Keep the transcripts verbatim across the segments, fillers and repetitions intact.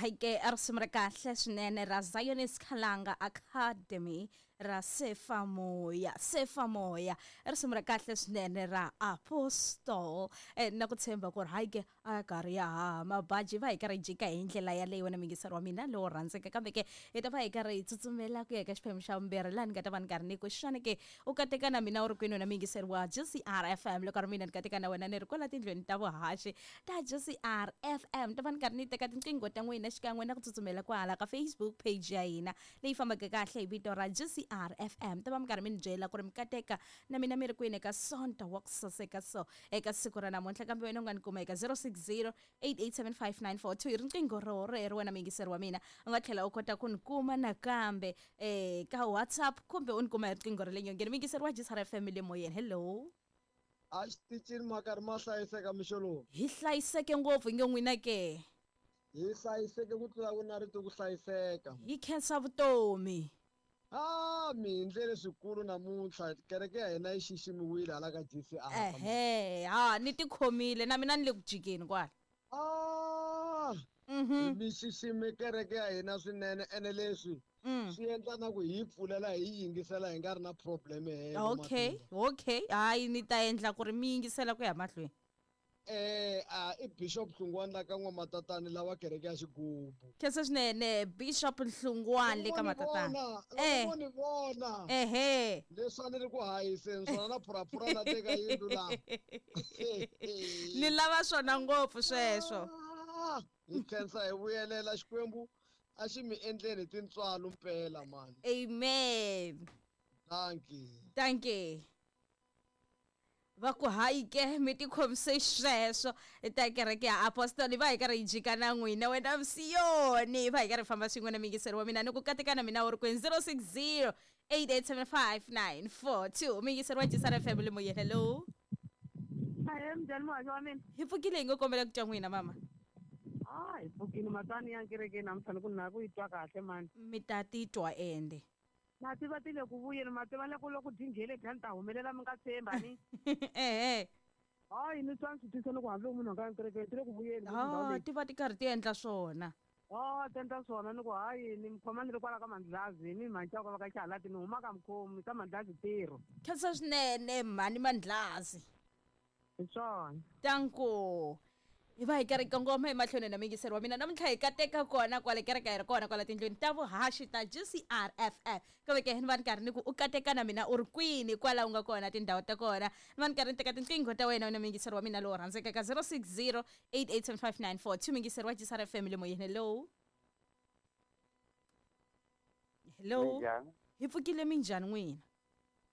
Hayi ke risimu ra kahle swinene ra Zionist Khalanga Academy ra Sefa Moya, Sefa Moya, risimu ra kahle swinene ra Apostle. eh, na ku tshemba ku ri hayi ke a karhi ya haha mabaji va hi karhi hi jika hi ndlela yaleyo. Wena muyingiseri wa mina lowo rhandzeka, kambe ke hi ta va hi karhi hi tsutsumela ku ya eka xiphemu xa vumbirhi, laha ni nga ta va ni karhi ni ku xana ke u kateka na mina u ri kwini, wena muyingiseri wa G C R F M. Loko ri mina ni kateka na wena ni ri kwala tindlwini ta vuhaxi ta G C R F M, ta va ni karhi ni teka tinqingho ta n'wina xikan'we na ku tsutsumela kwahala ka Facebook page ya hina leyi fambaka kahle hi vito ra G C R F M. Ta va mi karhi mi ni byela ku ri mi kateka na mina mi ri kwini eka Sonto wa ku saseka so eka siku ra namuntlha. Kambe wena u nga ni kuma eka zero six zero eight eight seven five nine four two, hi riqingho ro rero wena muyingiseri wa mina. U nga tlhela u kota ku ni kuma nakambe eh ka WhatsApp kumbe u ni kuma hi riqingho ra le nyongeni. Muyingiseri wa G C R F M le moyeni, hello. A xitichini ma karhi ma hlayiseka mixo lowu? Hi hlayiseke ngopfu hi nge n'wina ke. Hi hlayiseke ku tlula ku na rito ku hlayiseka. Hi khensa vutomi. Ah, mi hi ndlele swikulu namuntlha, kereke ya hina yi xiximiwile hala ka G C R. Ehe, ha ni tikhomile na mina ni le ku jikeni kwala. Ah, Mhm. mi xixime kereke ya hina swinene, ene leswi Mm. swi endla na ku hi pfulela hi yingisela hi nga ri na problem helo. Okay, okay. Hayi ni ta endla ku ri mi yingisela ku ya mahlweni. Eh, a i Bishop Hlungwani la ka N'wamatatani lawa kereke ya Xigubu. Khensa swinene Bishop Hlungwani le ka Matatani. Eh, ni vona. Ehe. Leswi a ni ri ku hayiseni swona na phuraphura la teka yindlu la. Ni lava swona ngopfu sweswo. Hi khensa hi vuyelela Xikwembu a xi mi endleni tintswalo mpela mani. Amen. Thank you. Thank you. Va ku hayi ke mi tikhomise sweswo ta kereke ya Apostoli va hi karhi hi jika na n'wina wena Msiyoni, va hi karhi hi famba swin'we na muyingiseri wa mina ni ku kateka na mina u ri kwini zero six zero eight eight seven five nine four two. Muyingiseri wa G C R F M le moyeni, hello. Ahee, minjhani muhaxi wa mina? Hi pfukile hi ngo kombela ku twa n'wina mama. Ah, hi pfukile matani ya kerekeni namuntlha ni ku na ku yi twa kahle mani. Mi ta titwa ende. Na tiva ti le ku vuyeni, ma tiva loko loko dyi dya ni ta humelela mi nga tshemba ni. Ehe. Hayi ni twa ni swi twisa loko hambi munhu a nga kerekeni ti le ku vuyeni. Ah, ti va ti karhi ti endla swona. Ah, ti endla swona ni ku hayi ni mi khoma ni ri kwala ka Mandlazi ni mhani va ka Xihalati ni huma ka Mkhomi ka Mandlazi ntirho. Khensa swinene mhani Mandlazi. Hi swona. Tanko. Hi va hi karhi kongoma emahlweni na muyingiseri wa mina namuntlha hi kateka kona kwale kereke hi ri kona kwala tindlwini ta vuhaxi ta G C R F M. Kambe ke ni va ni karhi ni ku u kateka na mina u ri kwini kwala u nga kona tindhawu ta kona. Ni va ni karhi ni teka tinqingho ta wena wena muyingiseri wa mina lowo rhandzeka ka zero six zero eight eight seven five nine four two. Muyingiseri wa G C R F M le moyeni, hello. Hello. Hi pfukile minjhani n'wina?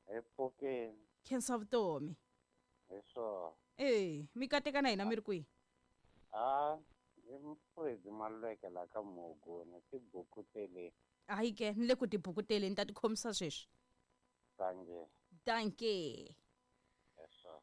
Hi pfukile. Khensa vutomi. Hi swona. Eh, mi kateka na hina mi ri kwihi? Ah, i Mfredi Maluleke la ka Muguni tibukuteleni. Hayi ke ni le ku tibukuteleni ta tikhomisa sweswi. Dankie. Dankie. Yes sir.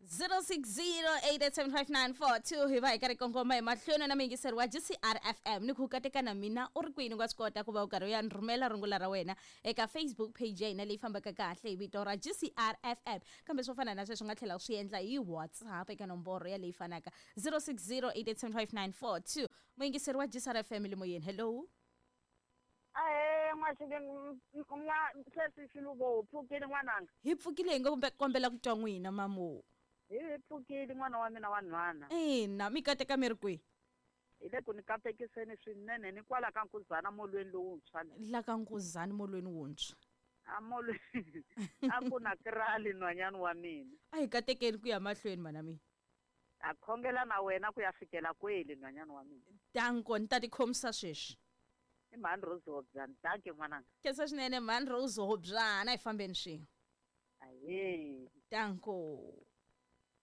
zero six zero eight eight seven five nine four two hi va hi karhi kongoma emahlweni na muyingiseri wa G C R F M ni ku kateka na mina u ri kwini u nga swi kota ku va u karhi u ya ni rhumela rungula ra wena eka Facebook page ya hina leyi fambaka kahle hi vito ra G C R F M. Kambe swo fana na sweswo u nga tlhela u swi endla hi WhatsApp eka nomboro ya leyi fanaka zero six zero eight eight seven five nine four two. Muyingiseri wa G C R F M le moyeni, hello. Ahee, n'wa sesi Xiluvo, u pfukile n'wananga? Hi pfukile hi ngo kombela ku twa n'wina mamo. Hi pfukile n'wana wa mina wa nhwana. Ina, mi kateka mi ri kwihi? Hi le ku ni katekiseni swinene ni kwala ka Nkuzana molweni lowuntshwa. La ka Nkuzana molweni wuntshwa. A molweni a ku na krali nhwanyana wa mina. A hi katekeni ku ya mahlweni mana mina. A khongela na wena ku ya fikela kweli nhwanyana wa mina. Danko ni ta tikhomisa sweswi. I mhani Rose Hobyana, danke n'wananga. Khensa swinene mhani Rose Hobyana, a hi fambeni swin'we. Ahee. Danko.